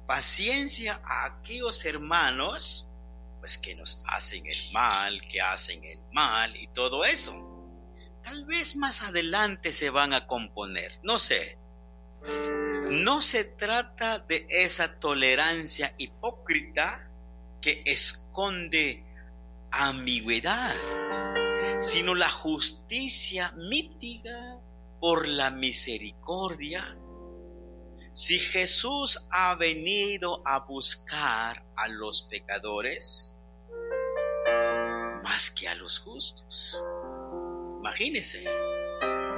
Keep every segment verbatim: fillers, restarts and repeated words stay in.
Paciencia a aquellos hermanos pues que nos hacen el mal, que hacen el mal y todo eso. Tal vez más adelante se van a componer, no sé. No se trata de esa tolerancia hipócrita que esconde ambigüedad, sino la justicia mitiga por la misericordia. Si Jesús ha venido a buscar a los pecadores, más que a los justos. Imagínense,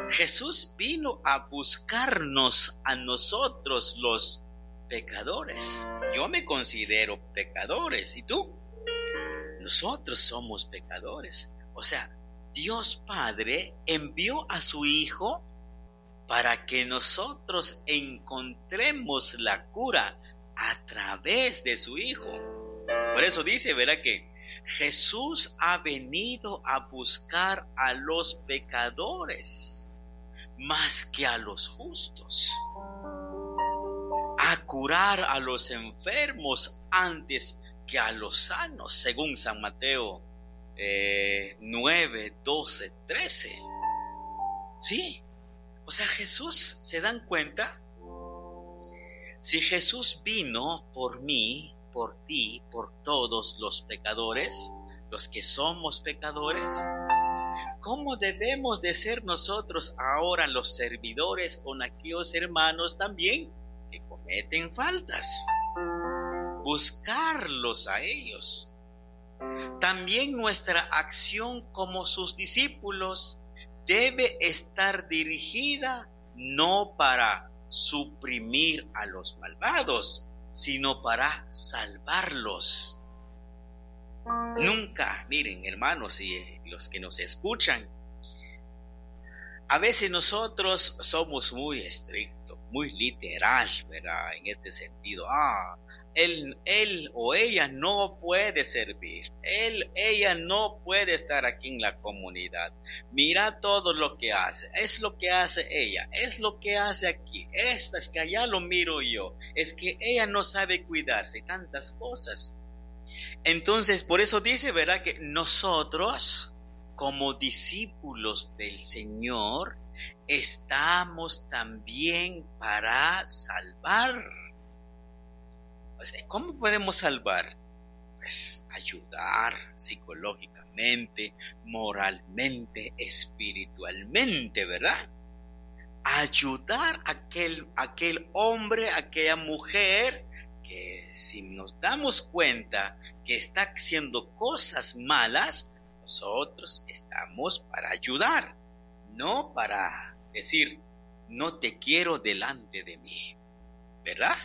Jesús vino a buscarnos a nosotros los pecadores. Yo me considero pecadores, ¿y tú? Nosotros somos pecadores. O sea, Dios Padre envió a su Hijo para que nosotros encontremos la cura a través de su Hijo. Por eso dice, ¿verdad? Que Jesús ha venido a buscar a los pecadores más que a los justos, a curar a los enfermos antes que a los sanos, según San Mateo eh, nueve, doce, trece. Sí, o sea, Jesús, ¿se dan cuenta? Si Jesús vino por mí, por ti, por todos los pecadores, los que somos pecadores, ¿cómo debemos de ser nosotros ahora los servidores con aquellos hermanos también que cometen faltas? Buscarlos a ellos. También nuestra acción como sus discípulos debe estar dirigida no para suprimir a los malvados, sino para salvarlos. Nunca, miren hermanos y los que nos escuchan, a veces nosotros somos muy estrictos, muy literal, ¿verdad? En este sentido, ah, él, él o ella no puede servir, él, ella no puede estar aquí en la comunidad. Mira todo lo que hace, es lo que hace ella, es lo que hace aquí, esta es que allá lo miro yo, es que ella no sabe cuidarse, tantas cosas. Entonces, por eso dice, ¿verdad? Que nosotros, como discípulos del Señor, estamos también para salvar. O sea, ¿cómo podemos salvar? Pues ayudar psicológicamente, moralmente, espiritualmente, ¿verdad? Ayudar a aquel, aquel hombre, a aquella mujer que si nos damos cuenta que está haciendo cosas malas, nosotros estamos para ayudar, no para decir, no te quiero delante de mí, ¿verdad?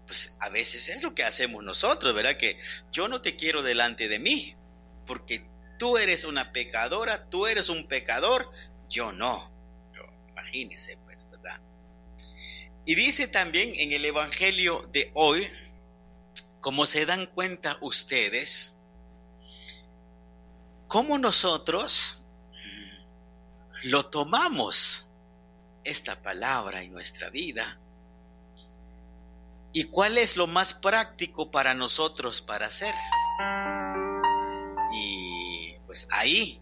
Pues a veces es lo que hacemos nosotros, ¿verdad? Que yo no te quiero delante de mí, porque tú eres una pecadora, tú eres un pecador, yo no. Pero imagínese, pues, ¿verdad? Y dice también en el Evangelio de hoy, como se dan cuenta ustedes, cómo nosotros lo tomamos esta palabra en nuestra vida. ¿Y cuál es lo más práctico para nosotros para hacer? Y pues ahí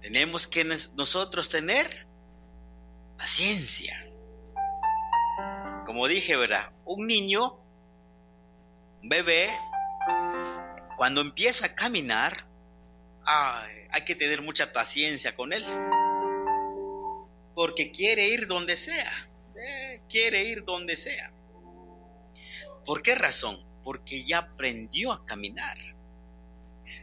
tenemos que nosotros tener paciencia. Como dije, ¿verdad? Un niño, un bebé, cuando empieza a caminar, ay, hay que tener mucha paciencia con él, porque quiere ir donde sea, eh, quiere ir donde sea. ¿Por qué razón? Porque ya aprendió a caminar.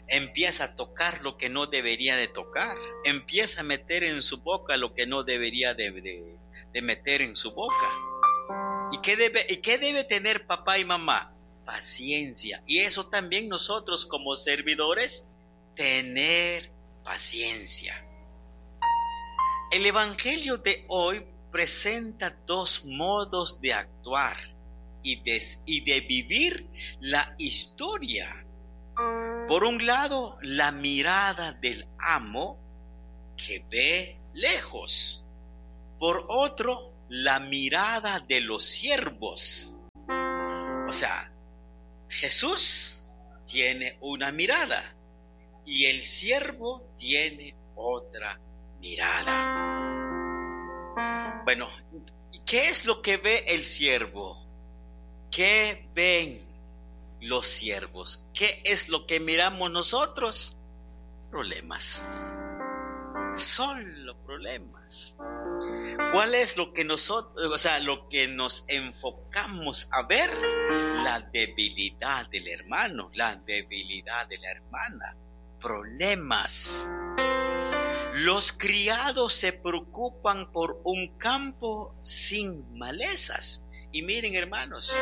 Empieza a tocar lo que no debería de tocar. Empieza a meter en su boca lo que no debería de, de, de meter en su boca. ¿Y qué debe, y qué debe tener papá y mamá? Paciencia. Y eso también nosotros como servidores, tener paciencia. El Evangelio de hoy presenta dos modos de actuar y de, y de vivir la historia. Por un lado, la mirada del amo que ve lejos. Por otro, la mirada de los siervos. O sea, Jesús tiene una mirada y el siervo tiene otra mirada. Bueno, ¿qué es lo que ve el siervo? ¿Qué ven los siervos? ¿Qué es lo que miramos nosotros? Problemas. Solo problemas. ¿Cuál es lo que nosotros, o sea, lo que nos enfocamos a ver? La debilidad del hermano, la debilidad de la hermana. Problemas. Los criados se preocupan por un campo sin malezas. Y miren, hermanos,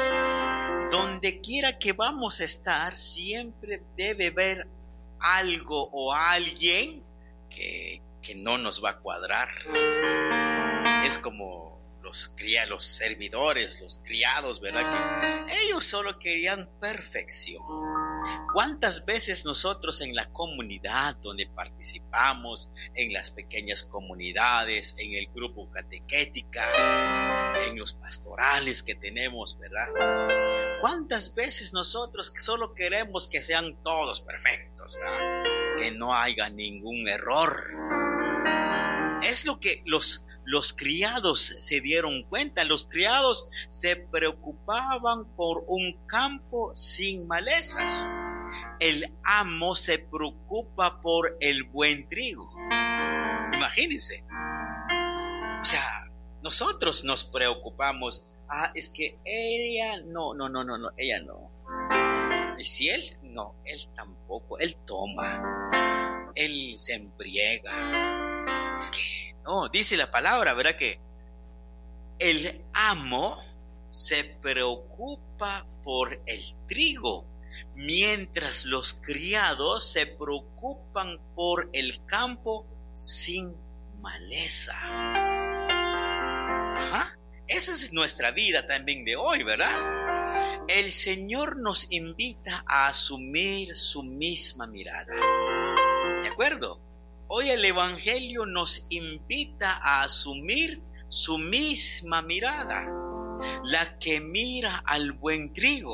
donde quiera que vamos a estar, siempre debe haber algo o alguien que, que no nos va a cuadrar. Es como los cría, los servidores, los criados, ¿verdad? Que ellos solo querían perfección. ¿Cuántas veces nosotros en la comunidad donde participamos, en las pequeñas comunidades, en el grupo catequética, en los pastorales que tenemos, ¿verdad? ¿Cuántas veces nosotros solo queremos que sean todos perfectos, ¿verdad? Que no haya ningún error? Es lo que los, los criados se dieron cuenta. Los criados se preocupaban por un campo sin malezas. El amo se preocupa por el buen trigo. Imagínense. O sea, nosotros nos preocupamos. Ah, es que ella no, no, no, no, no, ella no. ¿Y si él? No, él tampoco. Él toma. Él se embriaga. Es que, no, dice la palabra, ¿verdad? Que el amo se preocupa por el trigo, mientras los criados se preocupan por el campo sin maleza. Ajá. Esa es nuestra vida también de hoy, ¿verdad? El Señor nos invita a asumir su misma mirada. ¿De acuerdo? Hoy el Evangelio nos invita a asumir su misma mirada, la que mira al buen trigo,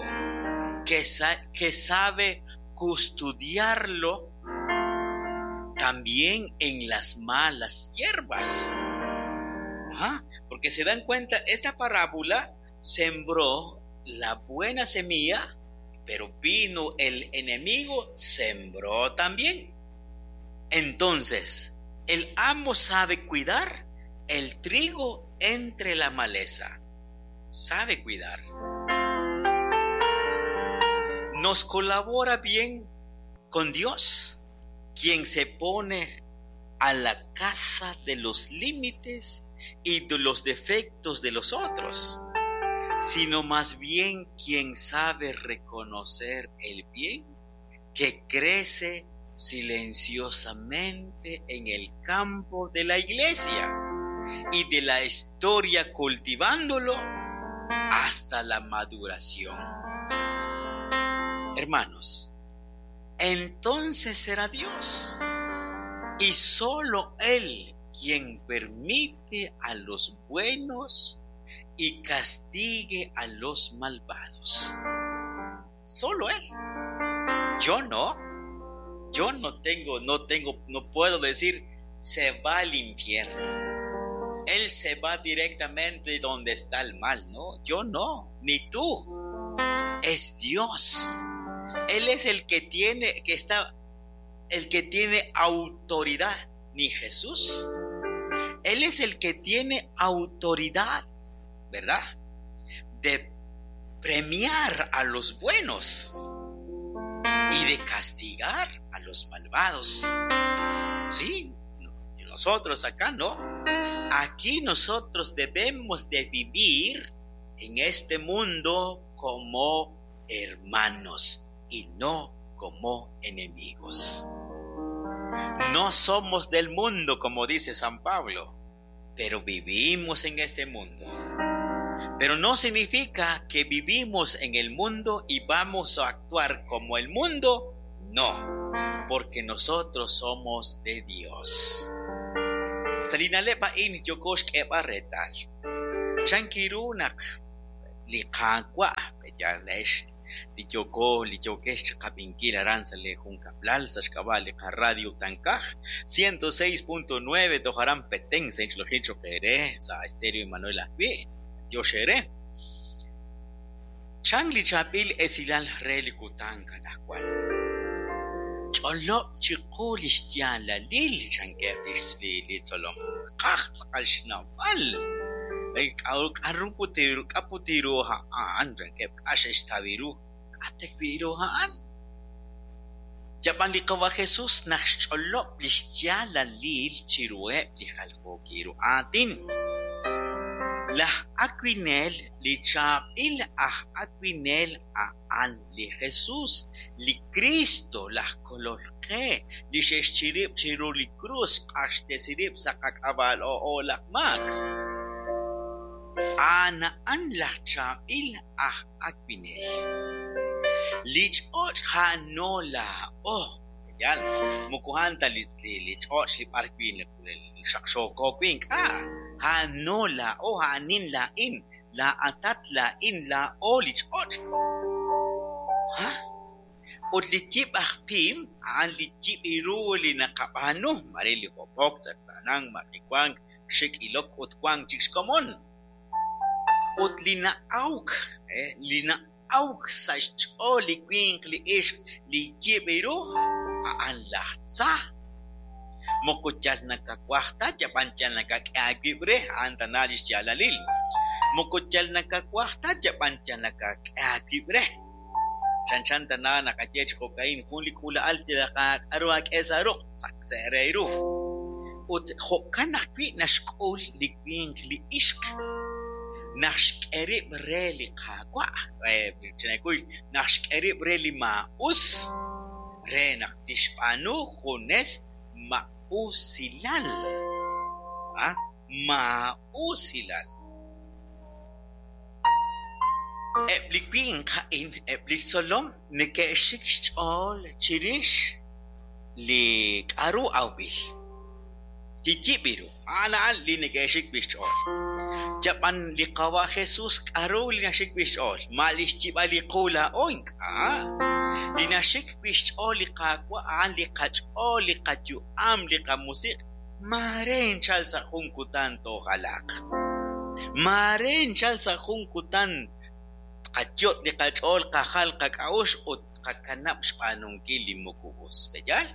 que, sa- que sabe custodiarlo también en las malas hierbas. Ajá, porque se dan cuenta, esta parábola sembró la buena semilla, pero vino el enemigo, sembró también. Entonces, el amo sabe cuidar el trigo entre la maleza. Sabe cuidar. Nos colabora bien con Dios, quien se pone a la caza de los límites y de los defectos de los otros, sino más bien quien sabe reconocer el bien que crece silenciosamente en el campo de la iglesia y de la historia, cultivándolo hasta la maduración. Hermanos, entonces será Dios y solo Él quien permite a los buenos y castigue a los malvados. Solo Él. Yo no. Yo no tengo, no tengo, no puedo decir se va al infierno. Él se va directamente donde está el mal, ¿no? Yo no, ni tú. Es Dios. Él es el que tiene, que está, el que tiene autoridad, ni Jesús. Él es el que tiene autoridad, ¿verdad? De premiar a los buenos y de castigar a los malvados. Sí, nosotros acá no. Aquí nosotros debemos de vivir en este mundo como hermanos y no como enemigos. No somos del mundo, como dice San Pablo, pero vivimos en este mundo. Pero no significa que vivimos en el mundo y vamos a actuar como el mundo. No, porque nosotros somos de Dios. Salinalepa in yokosh retal. Chankirunak li Qaawa' b'eyalex li yooko li yookex chiqab'inkil aran sa' li junkab'lal sa' xk'ab'a' li qaradio Tankaj ciento seis punto nueve toj aran Petén sa' inch'olojil cho'q eere sa' Estéreo Emanuel ajwi' Dios eere. Chan li chaab'il esilal re li kutan anaqwan. Ch'olob' chiqu li xyaalalil chankeb' li li tzolom. Qaj tz'aqal xnawb'al. K'aru k'aru putiru k'a putiru a'an chankeb' k'a xe'xtaw ru k'a wi' ru a'an. Yab'an li Qawa' Jesús naq xch'olob' li xyaalalil chiruheb' li jaljookil ru aatin. Laj awinel li chaab'il aj awinel a'an li Jesús, li Cristo, laj kolol qe, li xe'xchirib' chiru li krus q'axtesirib' sa' qak'ab'a'l o'o laj maak. A'an a'an laj chaab'il aj awinel. Li ch'och' ja'no laa'o. Yal, moko a'an ta li li ch'och' li b'ar wi' xaqxooko wi' ink'a'. Ja'no laa'o, a'anin laa'in, laa'atat laa'in, laa'o li ch'och'. Ha? Ut li yib' aj pim, a'an li yib' ru li naqab'aanu, mare li hob'ok, tz'eqtaanank, maqiwank, xik' ilok ut wank chik xkomon. Ut li na'awk, eh, li na'awk sa' xch'ool li winq li ixq li yib' ru, a'an laj tza. Moko yal nakawaj ta, yab'an yal nakak'e aawib' re, a'an tana li xyaalalil. Moko yal nakawaj ta, yab'an yal nakak'e aawib' re. Chanchan tana naqaye chi jo'ka'in jun li k'uula'al k'aru ak'e sa' ruq' saqse' re ru. Ut jo'kan ajwi' naxk'ul li winq li ixq. Naq xk'e rib' re li Qaawa', chinekuy, naq xk'e rib' re li maa'us, re naq tixb'aanu junes ma'usilal. Ah, ma'usilal. Eb' li winq a'in, eb' li tzolom neke'xik xch'ool chirix li k'aru awb'il. Li yib' ru, a'an a'an li neke'xik wi' xch'ool. Yab'an li Qawa' Jesús k'aru li naxik wi' xch'ool, ma li xyib'al li qu laa'o ink'a'. Li naxik wi' xch'ool li Qaawa' a'an li qach'ool, li qayu'am, li qamusiq', mare nchal sa' jun kutan tojalaq. Mare nchal sa' jun kutan qayot' li qach'ool, qajal qak'a'ux ut qakanab' xb'aanunkil li moko us. B'eyal?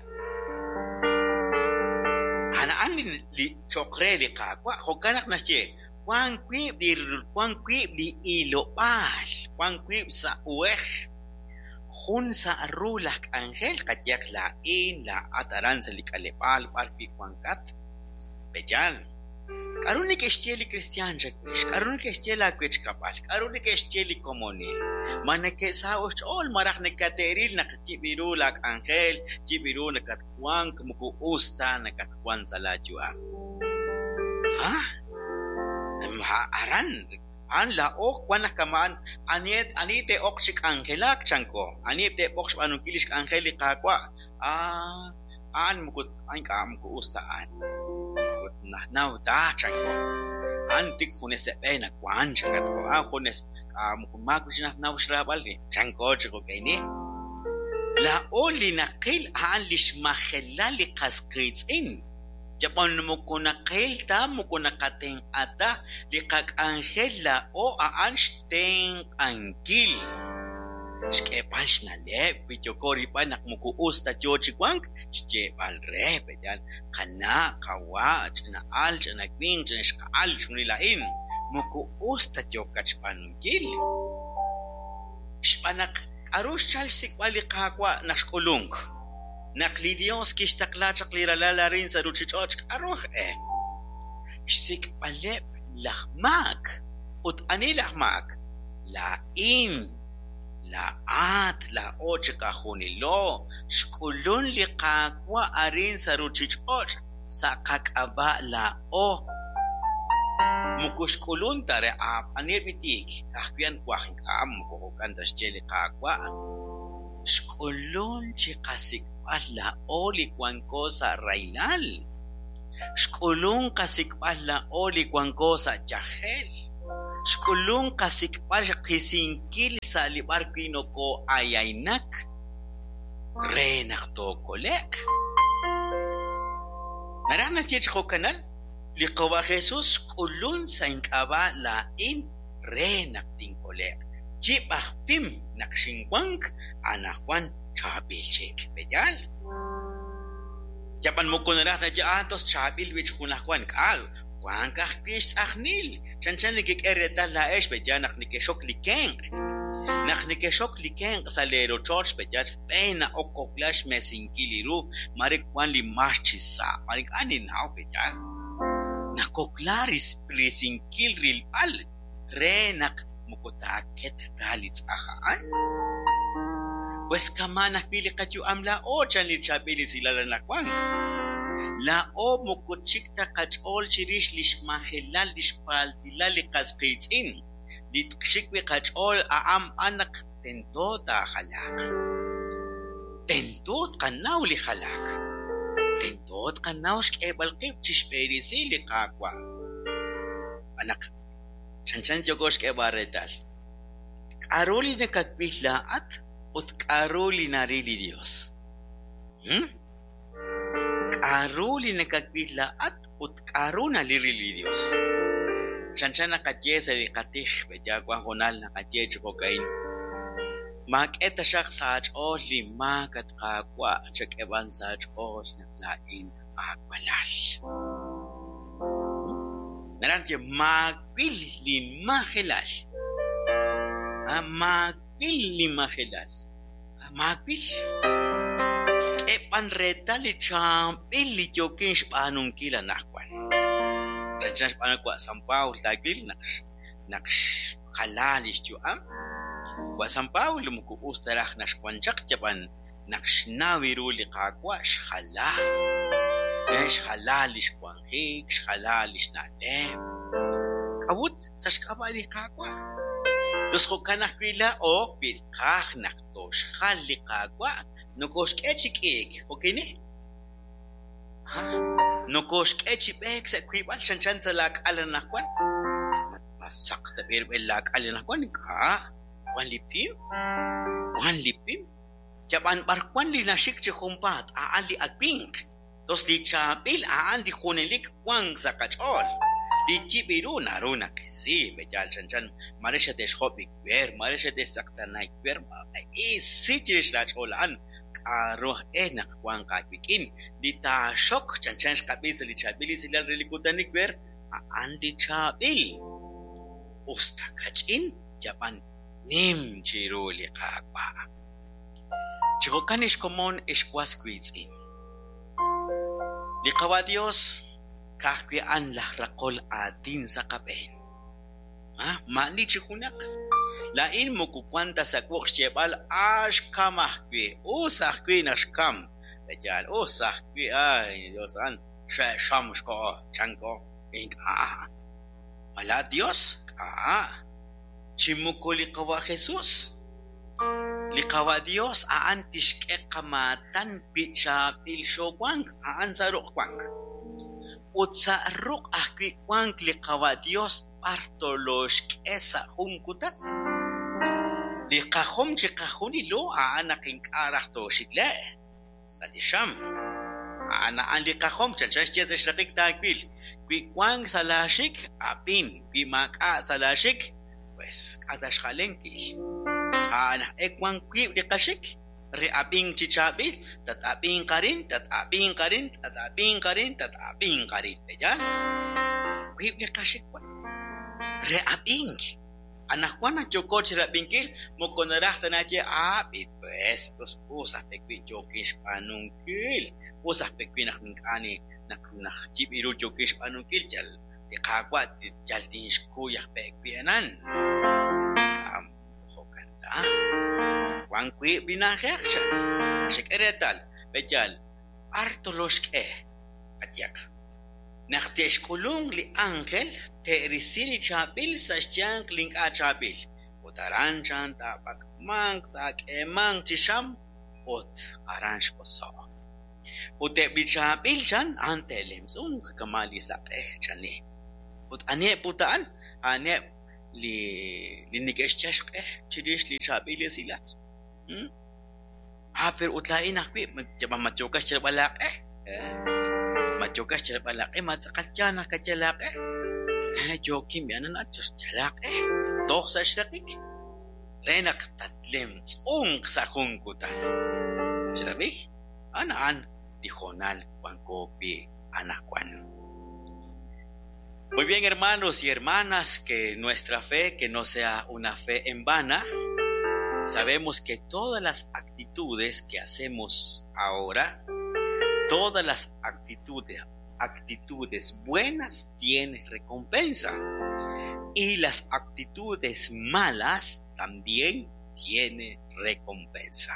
A'an a'an li cho'q re li Qaawa', jo'kan naq naxye, wan wiib' li wan wiib' li ilob'aal, wan wiib' sa' uhej. Jun sa' ru laj k'anjel, qayehaq laa'in, laa'at aran sa' li k'aleb'aal b'ar wi' wankat. B'eyal? K'aru neke'xye li kristiaan chawix? K'aru neke'xye laawechkab'al? K'aru neke'xye li komonil? Ma neke'saho' xch'ool malaj nakate'ril naq yib' ru laak'anjel, yib' ru nakatwank, moko us ta nakatwank sa' laayu'am. Ha? Aran, a'an laa'o wan naq kama'an ani ani te'oq chi k'anjelak chanko, ani te'oq xb'aanunkil li xk'anjel li Qaawa'. Ah, a'an moko ink'a' moko us ta a'an. Ut najnaw ta chanko. A'an tik junes seb'e nawan chankatko, a'an junes k'a moko maak chi najnaw xraab'al chanko chi jo'ka'ini. Laa'o li naqil a'an li xmajelal li qas qiitz'in. Yab'an moko naqil ta, moko naqatenq'a ta li qak'anjel laa'o a'an xtenq'ankil. Xk'eeb'al xna'leb' wi yooko rilb'al naq moko us ta yoo chi wank, xyeeb'al re, b'eyal, qana', qawa', ch'ina'al, ch'ina winq, ch'ina ixqa'al, chunil a'in, moko us ta yookat xb'aanunkil. Xb'aan naq k'aru xchal xsik'b'al li Qaawa' naq xk'ulunk. Naq li Dios kixtaqla chaq li ralal arin sa' ruchich'och' k'aru eh? Xsik'b'aleb' laj maak. Ut ani laj maak? Laa'in, laa'at, laa'o chiqajunilo. Xk'ulun li Qaawa' arin sa' ruchich'och' sa' qak'ab'a' laa'o. Moko xk'ulun ta re aniheb' li tiik, ka'ajwi' a'an waj ink'a' moko jo'kan ta xye li Qaawa'. Xk'ulun chiqasik'b'al laa'o li wanko sa' rahilal. Xk'ulun qasik'b'al laa'o li wanko sa' yajel. Xk'ulun qasik'b'al qisinkil sa' li b'ar wi' nokoo'ayaynak re naq tookole'q. Naraj naxye chi jo'kanal li Qawa' Jesus xk'ulun sa' ink'ab'a' laa'in re naq tinkole'q. Yib' aj pim naq xinwank anaqwan chaab'il chik. Pe'yaal? Yab'an moko naraj naxye ah tos chaab'il wi' chi junajwan k'a' wank ajwi' xtz'ajnil. Chanchan nekek'e reetal laa'ex pe'yaal naq nekexok li kenq'. Naq nekexok li kenq' sa' lee rochoch pe'yaal xb'een na'ok kokla xmesinkil li ru mare wan li max chi sa' mare ink'a' ninnaw pe'yaal. Nakokla risinkil rilb'al re naq moko taaket ta li tz'aj a'an. Pues kama'an ajwi' li qayu'am laa'o chan li chaab'il esilal anaqwan. Laa'o moko chik ta qach'ool chirix li xmajelal li xpaltilal li qas qiitz'in. Li xik wi' qach'ool a'an b'an naq tento taajalaaq. Tento tqanaw li jalaak. Tento tqanaw xk'eeb'al qib' chixb'eresi li Qaawa'. B'an naq chanchan yooko xk'eeb'al reetal. K'a'ru li nakawil laa'at ut k'a'ru li naril li Dios. Hmm? K'a'ru li nakawil laa'at ut k'a'ru naril li Dios. Chanchan naqaye sa' li qatij pe'yaal wan hoonal naqaye chi jo'ka'in. Maak'e taxaq sa' aach'ool li maak at Qaawa' chak'e b'an sa' aach'ool naq laa'in aawalal. Naraj naxye maawil linmajelal. Maawil linmajelal. Maawil. K'e b'an reetal li chaab'il li yookin xb'aanunkil anaqwan. Chanchan xb'aan wa' San Pablo taawil naq naq xjalaa li xyu'am. Wa' San Pablo moko us ta raj naxwan chaq yab'an naq xnaw ru li Qaawa' xjalaa. Xjalaa li xwanjik, xjalaa li xna'leb'. K'a'ut sa' xk'ab'a' li Qaawa'. Tos jo'kan ajwi' laa'o wi tqaj naq toxjal li Qaawa' nokoxk'e chi k'iik. Jo'kini? Nokoxk'e chi b'eek sa' wiib'al chanchan sa' laak'al anaqwan. Ma saq ta b'irb'el laak'al anaqwan k'a' wan li pim, wan li pim. Yab'an b'ar wan li naxik chi junpaat a'an li awinq. Tos li chaab'il a'an li junelik wank sa' qach'ool. Li yib' ru naru naqisi pe'yaal chanchan mare xate'xjob' ikwer, mare xate'xtz'eqtaana ikwer, isi chirix laach'ool a'an. K'a'ru aj e naq wanq aawik'in. Li taaxok chanchan xqab'i sa' li chaab'il esilal re li kutan ikwer a'an li chaab'il. Us ta kach'in yab'an nim chiru li Qaawa'. Chi jo'kan ixkomon ixwas wiitz'in. Li Qawa' Dios ka'ajwi' a'an laj raqol aatin sa' qab'een. Ah, ma'ani chi junaq. Laa'in moko wan ta sa' wuq' xyeeb'al ah xkam ajwi', us ajwi' naq xkam. Pe'yaal us ajwi' ay Dios a'an xe'xam xko'o chanko ink'a'. Mala Dios k'a' chi moko li Qawa' Jesus. Li Qawa' Dios a'an tixk'e qamaatan wi' chaab'il xoowank a'an sa' ruq' wank. Ut sa' ruq' ajwi' wank li Qawa' Dios b'ar toloxk'e sa' jun kutan. Li qajom chi qajunilo a'an naq ink'a' raj tooxikle' sa' li xam. A'an a'an li qajom chanchan xye sa' xraqik taawil. Wi' wank sa' laaxik ab'in, wi' maak'a' sa' laaxik pues k'a' ta xjalenkil. A'an aj e wank wiib' li qaxik re ab'ink chi chaab'il, tat-ab'inq arin, tat-ab'inq arin, tat-ab'inq arin, tat-ab'inq arin. Pe'yaal? Wiib' li qaxik wan re ab'ink. Anaqwan naq yooko chirab'inkil moko naraj ta naxye ah b'it pues tos us aj pe' wi' yookin xb'aanunkil. Us aj pe' wi' naq ink'a' naq naq yib' ru yookin xb'aanunkil yal li Qaawa' yal tinxkuy aj pe' wi' anan. K'a' jo'kan ta. Wan wiib' li na'ajej chan. Xek'e reetal pe'yaal b'ar toloxk'e qayehaq. Naq te'xk'ulunk li ángel te'risi li chaab'il sa' xyanq li ink'a' chaab'il. Ut aran chan taab'ak'manq taak'eemanq chi xam ut aran x'oso'. Ut eb' li chaab'il chan a'an te'lemtz'unq kama' li saq'ej chani. Ut aniheb' ut a'an? A'aneb' Li li neke'xyal xq'e chirix li chaab'il esilal. Hmm? Ah, pero ut laa'in ajwi' ma yookat xyalb'al aaq'e? Ma yookat xyalb'al aaq'e? Ma tz'aqal yaal naq kayal aaq'e? Eh, yookin b'i'anan yal aaq'e toj sa' xraqik re naq tatlemtz'unq sa' jun kutan. Xrab'i? A'an a'an li hoonal wanko wi' anaqwan. Muy bien, hermanos y hermanas, que nuestra fe, que no sea una fe en vana. Sabemos que todas las actitudes que hacemos ahora, todas las actitudes, actitudes buenas tienen recompensa. Y las actitudes malas también tienen recompensa.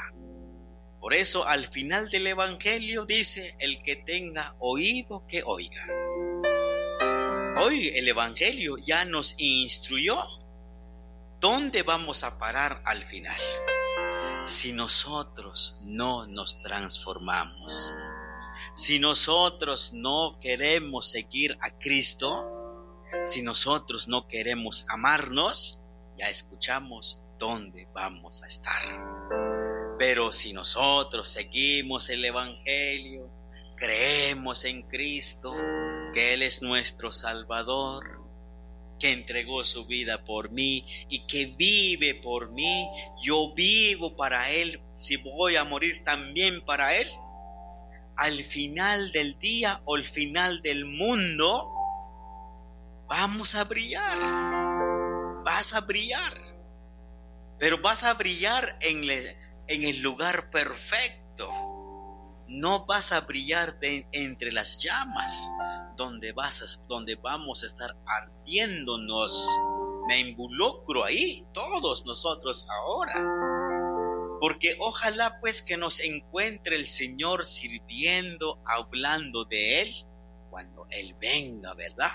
Por eso al final del Evangelio dice, el que tenga oído que oiga. Hoy el Evangelio ya nos instruyó dónde vamos a parar al final. Si nosotros no nos transformamos, si nosotros no queremos seguir a Cristo, si nosotros no queremos amarnos, ya escuchamos dónde vamos a estar. Pero si nosotros seguimos el Evangelio, creemos en Cristo, que Él es nuestro Salvador, que entregó su vida por mí y que vive por mí, yo vivo para Él, si voy a morir también para Él. Al final del día o al final del mundo, vamos a brillar, vas a brillar, pero vas a brillar en el, en el lugar perfecto. No vas a brillar de, entre las llamas, donde, vas a, donde vamos a estar ardiéndonos. Me involucro ahí, todos nosotros ahora. Porque ojalá pues que nos encuentre el Señor sirviendo, hablando de Él, cuando Él venga, ¿verdad?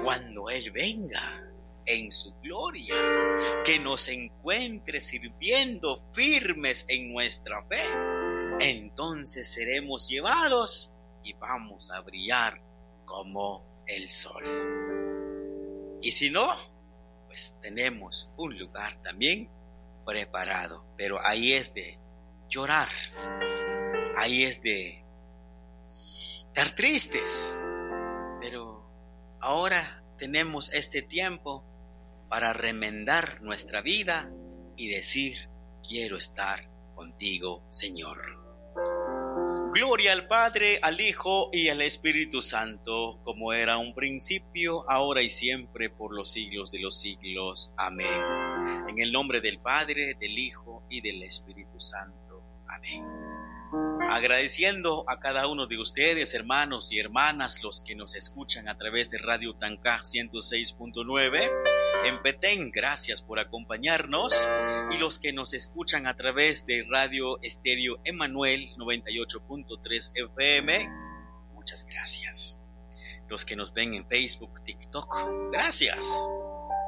Cuando Él venga en su gloria, que nos encuentre sirviendo firmes en nuestra fe, entonces seremos llevados y vamos a brillar como el sol. Y si no, pues tenemos un lugar también preparado, pero ahí es de llorar, ahí es de estar tristes, pero ahora tenemos este tiempo para remendar nuestra vida y decir, quiero estar contigo, Señor. Gloria al Padre, al Hijo y al Espíritu Santo, como era un principio, ahora y siempre, por los siglos de los siglos. Amén. En el nombre del Padre, del Hijo y del Espíritu Santo. Amén. Agradeciendo a cada uno de ustedes, hermanos y hermanas, los que nos escuchan a través de Radio Tancaj ciento seis punto nueve en Petén, gracias por acompañarnos, y los que nos escuchan a través de Radio Estéreo Emanuel noventa y ocho punto tres F M, muchas gracias. Los que nos ven en Facebook, TikTok, gracias.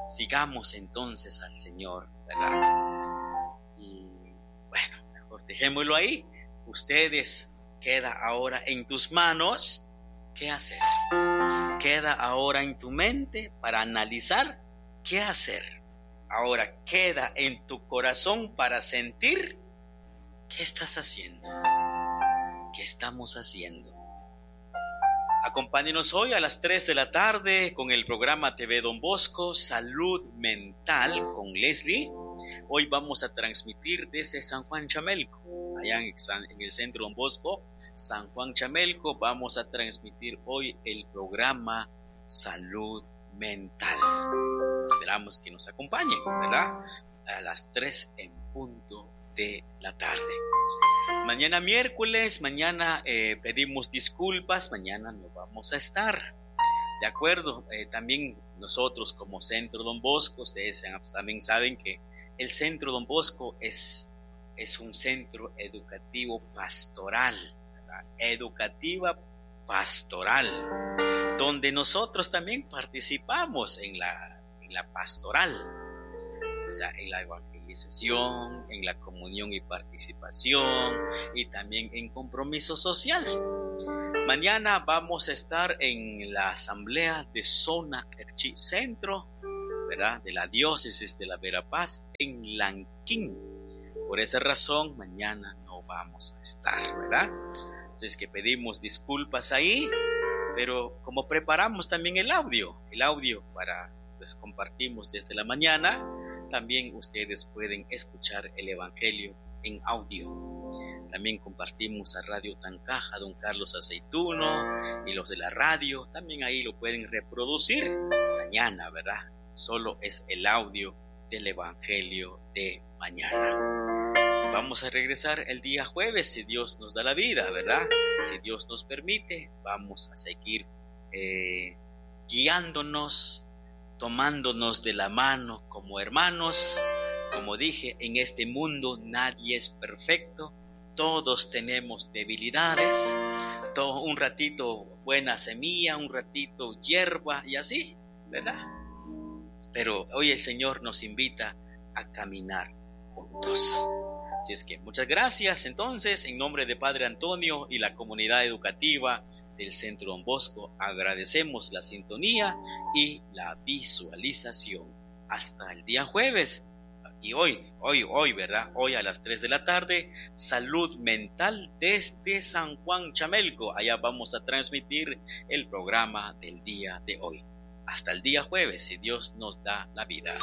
Sigamos entonces al Señor, ¿verdad? Y bueno, mejor dejémoslo ahí. Ustedes, queda ahora en tus manos qué hacer. Queda ahora en tu mente para analizar qué hacer. Ahora queda en tu corazón para sentir qué estás haciendo, qué estamos haciendo. Acompáñenos hoy a las tres de la tarde con el programa T V Don Bosco, Salud Mental con Leslie. Hoy vamos a transmitir desde San Juan Chamelco, allá en el centro Don Bosco, San Juan Chamelco. Vamos a transmitir hoy el programa Salud Mental. Esperamos que nos acompañen, ¿verdad? A las tres en punto de la tarde. Mañana miércoles, mañana eh, pedimos disculpas, mañana no vamos a estar. De acuerdo, eh, también nosotros como Centro Don Bosco, ustedes también saben que el Centro Don Bosco es, es un centro educativo pastoral, ¿verdad? Educativa pastoral, donde nosotros también participamos en la, en la pastoral, o sea, en la evangelización, en la comunión y participación, y también en compromiso social. Mañana vamos a estar en la asamblea de Zona Q'eqchi' Centro, ¿verdad? De la diócesis de la Verapaz en Lanquín. Por esa razón, mañana no vamos a estar, ¿verdad? Así es que pedimos disculpas ahí, pero como preparamos también el audio, el audio para les compartimos desde la mañana, también ustedes pueden escuchar el Evangelio en audio. También compartimos a Radio Tancaja, don Carlos Aceituno y los de la radio, también ahí lo pueden reproducir mañana, ¿verdad? Solo es el audio del Evangelio de mañana. Vamos a regresar el día jueves, si Dios nos da la vida, ¿verdad? Si Dios nos permite, vamos a seguir eh, guiándonos, tomándonos de la mano como hermanos. Como dije, en este mundo nadie es perfecto, todos tenemos debilidades, todo, un ratito buena semilla, un ratito hierba y así, ¿verdad? Pero hoy el Señor nos invita a caminar juntos. Así es que muchas gracias entonces, en nombre de Padre Antonio y la comunidad educativa del Centro Don Bosco, agradecemos la sintonía y la visualización. Hasta el día jueves. Y hoy, hoy, hoy, ¿verdad? Hoy a las tres de la tarde, Salud Mental desde San Juan Chamelco. Allá vamos a transmitir el programa del día de hoy. Hasta el día jueves, si Dios nos da la vida.